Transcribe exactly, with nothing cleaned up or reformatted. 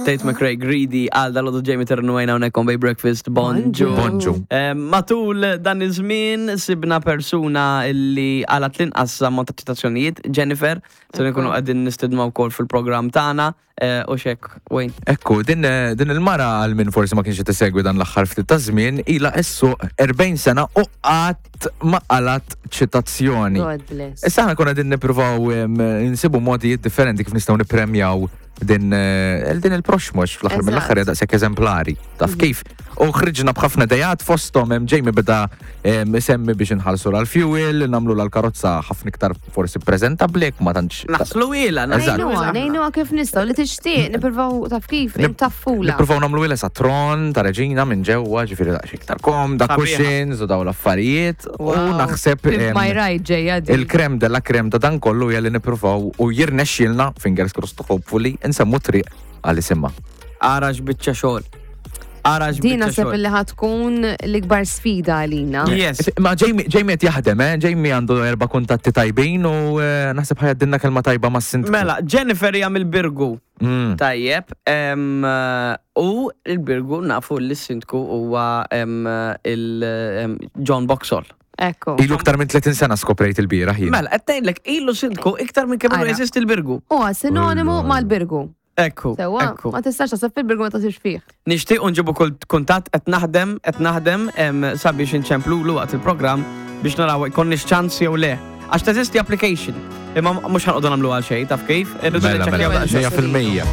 Tate McRae, Greedy, għal dal Jamie Ternu għajna hawnhekk on Bay Breakfast, bonġu. Bonġu. Eh, Matul dan iż-żmien sibna persuna illi għalat l-inqas ammont ta' ċitazzjonijiet, Jennifer, se nkunu qegħdin nistednu wkoll fil-programm tagħna eh, u xek, Wayne. Ekku, din, eh, din il-mara għal min forsi ma kienx tisegwi dan l-aħħar ftit ta' żmien, ilha issu erbgħin sena u qatt ma qalat ċitazzjoni. God bless. Issa aħna konna din nippruvaw em, nsibu modijiet differenti kif nistgħu nippremjaw din eh, din il-proxmox fl-aħħar Eżatt. mill-aħħar hija daqshekk eżemplari. Taf kif? U ħriġna b'ħafna idejat, fosthom hemm Jamie beda em, isemmi biex inħallsu l-fuel, nagħmlu l-karozza ħafna iktar forsi preżentabbli jekk ma tantx. Naħslu ila, Eżatt. Ngħinuha, ngħinuha kif nistgħu li tixtieq, nippruvaw taf kif, Nip- intaffula. Nippruvaw nagħmlu ilha tron ta' reġina minn ġewwa, ġifieri daqsxejn iktar komda, Sabiħa. cushions u daw l-affarijiet. U Wow. naħseb Pimp em, my ride ġejja din. il-crème de la crème ta' dan kollu hija li nippruvaw u jirnexxielna, fingers crossed hopefully, insemmu triq għal isimha. Ara x'biċċa xogħol. Ara Din x'biċċa naħseb xogħol. li ħa tkun l-ikbar sfida għalina. Yes. Ma Jamie Jamie qed jaħdem, eh? Jamie għandu erba' kuntatti tajbin u eh, naħseb ħa jgħaddilna kelma tajba mas-sindku. Mela, Jennifer hija mill-Birgu. Mm. Tajjeb, em, u il-Birgu nafu li s-sindku huwa em, il em, John Boxall. Ekku. Ilu iktar minn tletin sena skoprejt il-bieraħ jien. Mela, qed ngħidlek ilu sindku iktar minn kemm ilu Ara. jeżisti l-Birgu. Huwa sinonimu Ullu. mal-Birgu. Ekku, Sewwa, ekku. ma tistax taħseb fil-Birgu ma taħsibx fih. Nixtieq nġibu kull kuntatt, qed naħdem, qed naħdem em, sabiex inċemplulu waqt il-programm biex naraw jkollniex ċans jew le. Għax teżisti application. Imma mhux ħa noqogħdu nagħmlu għal xejn, taf kif? Irridu Mela, niċċekkjaw mela, daqsxejn. mija fil-mija.